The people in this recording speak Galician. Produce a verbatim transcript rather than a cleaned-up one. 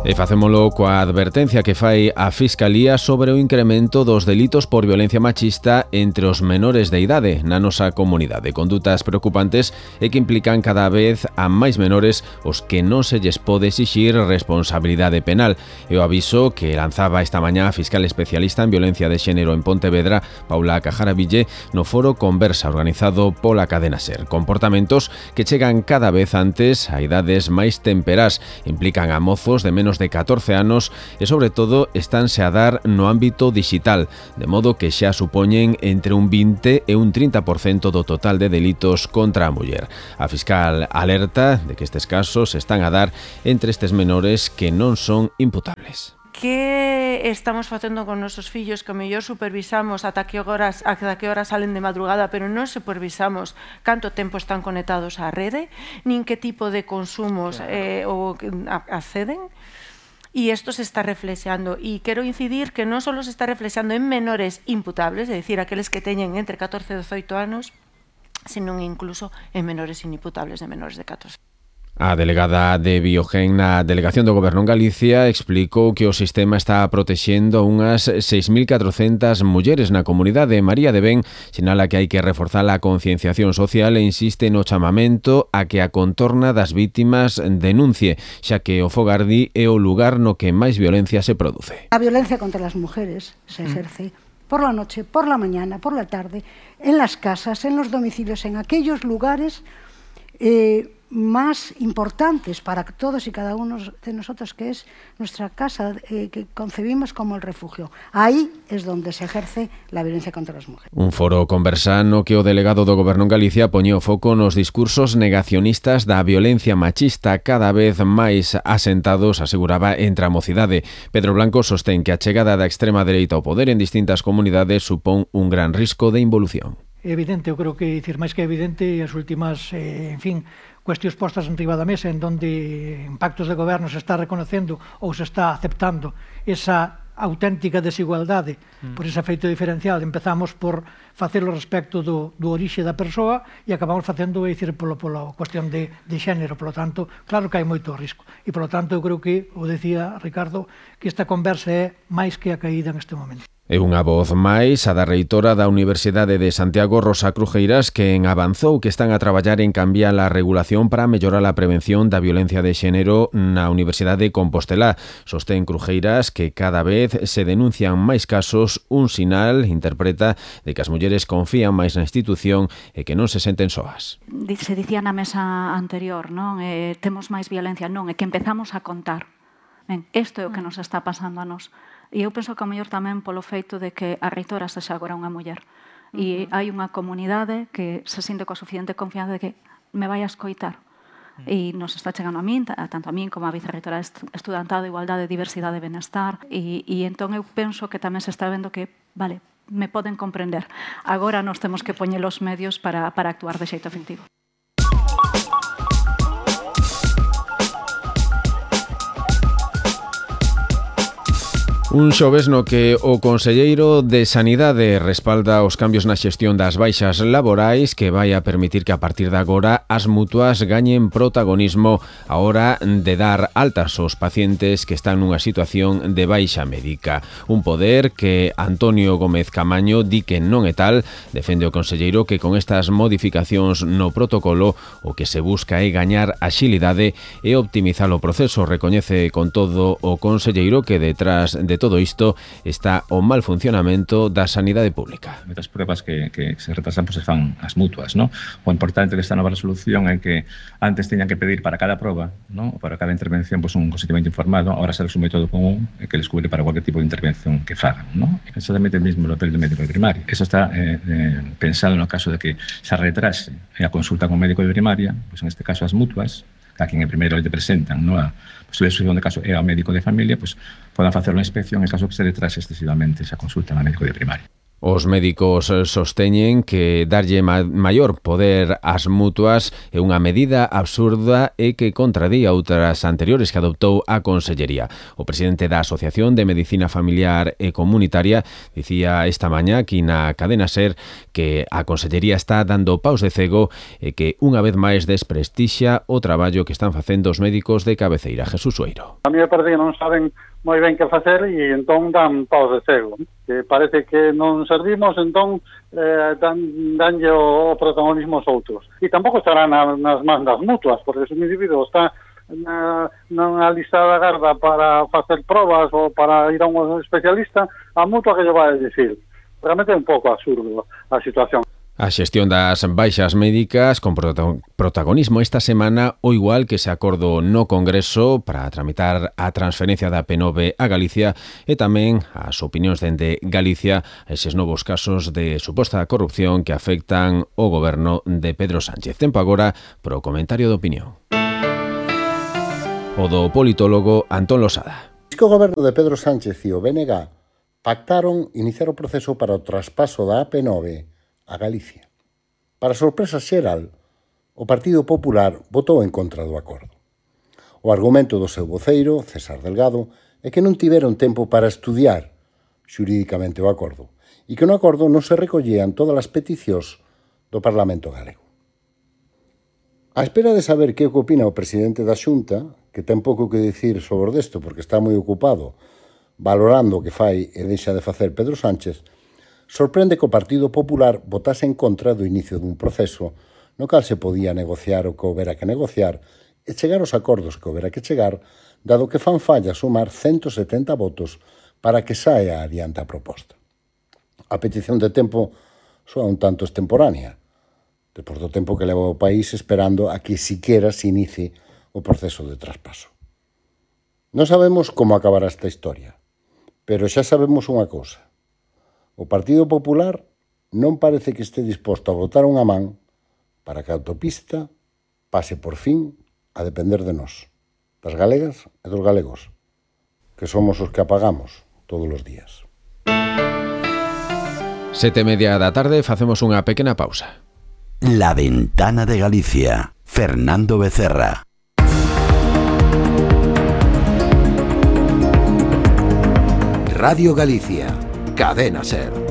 E facémolo coa advertencia que fai a Fiscalía sobre o incremento dos delitos por violencia machista entre os menores de idade na nosa comunidade. Condutas preocupantes e que implican cada vez a máis menores os que non se lles pode exixir responsabilidade penal. E o aviso que lanzaba esta mañá a fiscal especialista en violencia de xénero en Pontevedra, Paula Cajaraville, no foro Conversa organizado pola cadena SER. Comportamentos que chegan cada vez antes a idades máis temperás, implican a mozos de menos de catorce anos e, sobre todo, estánse a dar no ámbito digital, de modo que xa supoñen entre un vinte e un trinta por cento do total de delitos contra a muller. A fiscal alerta de que estes casos están a dar entre estes menores que non son imputables. Que estamos facendo con nosos fillos que mellor supervisamos ata que horas, ata que horas salen de madrugada, pero non supervisamos canto tempo están conectados á rede, nin que tipo de consumos eh, ou acceden? E isto se está reflexando, e quero incidir que non só se está reflexando en menores imputables, é dicir, aqueles que teñen entre catorce e dezoito anos, senón incluso en menores inimputables de menores de catorce. A delegada de Biogen na Delegación do Goberno en Galicia explicou que o sistema está protexendo unhas seis mil catrocentas mulleres na comunidade. María de Ben sinala que hai que reforzar a concienciación social e insiste no chamamento a que a contorna das vítimas denuncie, xa que o fogardi é o lugar no que máis violencia se produce. A violencia contra las mujeres se ejerce por la noche, por la mañana, por la tarde, en las casas, en los domicilios, en aquellos lugares eh, más importantes para todos y cada uno de nosotros, que es nuestra casa, eh, que concebimos como el refugio. Ahí es donde se ejerce la violencia contra las mujeres. Un foro conversano que o delegado do Goberno en Galicia poñeu foco nos discursos negacionistas da violencia machista cada vez máis asentados, aseguraba, entre a mocidade. Pedro Blanco sostén que a chegada da extrema dereita ao poder en distintas comunidades supón un gran risco de involución. É evidente, eu creo que, dicir, máis que evidente, as últimas, eh, en fin, cuestións postas enriba da mesa en donde en pactos de goberno se está reconocendo ou se está aceptando esa auténtica desigualdade mm. por ese efeito diferencial. Empezamos por facelo respecto do, do orixe da persoa e acabamos facendo, é dicir, polo, pola cuestión de, de xénero. Polo tanto, claro que hai moito risco. E, polo tanto, eu creo que, o decía Ricardo, que esta conversa é máis que a caída neste momento. É unha voz máis a da reitora da Universidade de Santiago, Rosa Crujeiras, que en avanzou que están a traballar en cambiar a regulación para mellorar a prevención da violencia de xénero na Universidade de Compostela. Sostén Crujeiras que cada vez se denuncian máis casos, un sinal, interpreta, de que as mulleres confían máis na institución e que non se senten soas. Se dicía na mesa anterior, non? Eh, temos máis violencia, non, é que empezamos a contar. Ben, isto é o que nos está pasando a nós. E eu penso que ao mellor tamén polo feito de que a reitora sexa agora unha muller. E hai unha comunidade que se sinte coa suficiente confianza de que me vai a escoitar. E nos está chegando a min, tanto a min como a vicerreitora estudantal de Igualdade, Diversidade e Benestar. E, e entón eu penso que tamén se está vendo que, vale, me poden comprender. Agora nos temos que poñer os medios para, para actuar de xeito efectivo. Un xoves no que o conselleiro de Sanidade respalda os cambios na xestión das baixas laborais que vai a permitir que a partir de agora as mutuas gañen protagonismo a hora de dar altas aos pacientes que están nunha situación de baixa médica. Un poder que Antonio Gómez Camaño di que non é tal. Defende o conselleiro que con estas modificacións no protocolo o que se busca é gañar axilidade e optimizar o proceso. Recoñece con todo o conselleiro que detrás de todo isto está o mal funcionamento da sanidade pública. Moitas pruebas que, que se retrasan pues, se fan as mutuas, ¿no? O importante desta nova resolución é que antes teñan que pedir para cada proba, ¿no? Para cada intervención pues, un consentimento informado, ahora se resume todo común e que les cubre para cualquier tipo de intervención que fagan, ¿no? Exactamente o mismo papel do médico de primaria. Eso está eh, eh, pensado no caso de que se retrase a consulta con médico de primaria, pues en este caso as mutuas, a quien en primeiro le presentan, ¿no? A posible solución de caso é ao médico de familia, pues podan facer unha inspección en caso que se retrase excesivamente esa consulta ao médico de primaria. Os médicos sosteñen que darlle ma maior poder ás mutuas é unha medida absurda e que contradía outras anteriores que adoptou a Consellería. O presidente da Asociación de Medicina Familiar e Comunitaria dicía esta mañá aquí na cadena SER que a Consellería está dando paus de cego e que unha vez máis desprestixa o traballo que están facendo os médicos de cabeceira. Jesús Sueiro. A mí me parece que non saben moi ben que facer e entón dan paus de cego. Que parece que non servimos, entón eh, dan, danlle o, o protagonismo aos outros. E tampouco estará na, nas mans das mutuas, porque se un individuo está na, na lista da garda para facer probas ou para ir a un especialista, a mutua que lle vai a dicir. Realmente é un pouco absurdo a situación. A xestión das baixas médicas con protagonismo esta semana o igual que se acordou no Congreso para tramitar a transferencia da P nove a Galicia e tamén as opinións dende Galicia a eses novos casos de suposta corrupción que afectan o goberno de Pedro Sánchez. Tempo agora pro comentario de opinión. O do politólogo Antón Losada. O goberno de Pedro Sánchez e o B N G pactaron iniciar o proceso para o traspaso da A P nove a Galicia. Para sorpresa xeral, o Partido Popular votou en contra do acordo. O argumento do seu voceiro, César Delgado, é que non tiveron tempo para estudiar xurídicamente o acordo e que no acordo non se recollían todas as peticións do Parlamento galego. A espera de saber que opina o presidente da Xunta, que ten pouco que dicir sobre desto porque está moi ocupado valorando o que fai e deixa de facer Pedro Sánchez, sorprende que o Partido Popular votase en contra do inicio dun proceso no cal se podía negociar o que houbera que negociar e chegar aos acordos que houbera que chegar, dado que fan falla sumar ciento setenta votos para que saia adiante a proposta. A petición de tempo soa un tanto extemporánea, despois do tempo que leva o país esperando a que siquera se inicie o proceso de traspaso. Non sabemos como acabará esta historia, pero xa sabemos unha cousa. O Partido Popular non parece que este disposto a botar unha man para que a autopista pase por fin a depender de nós, das galegas e dos galegos, que somos os que apagamos todos os días. Sete e media da tarde, facemos unha pequena pausa. La Ventana de Galicia, Fernando Becerra. Radio Galicia, Cadena SER.